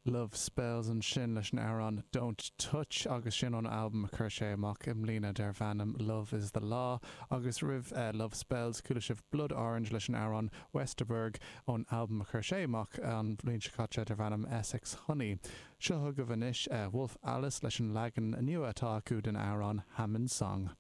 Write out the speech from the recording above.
Love Spells ansin leis an amhrán Don't Touch agus sin ón albam a chuir sé amach i mbliana darb ainm Love Is The Law agus roimh Love Spells chuala sibh Blood Orange leis an amhrán Westerberg ón albam a chuir sé amach an bhliain seo caite darb ainm Essex Honey. Seo chugaibh anois Wolf Alice leis an leagan nua atá acu den amhrán Hammond Song.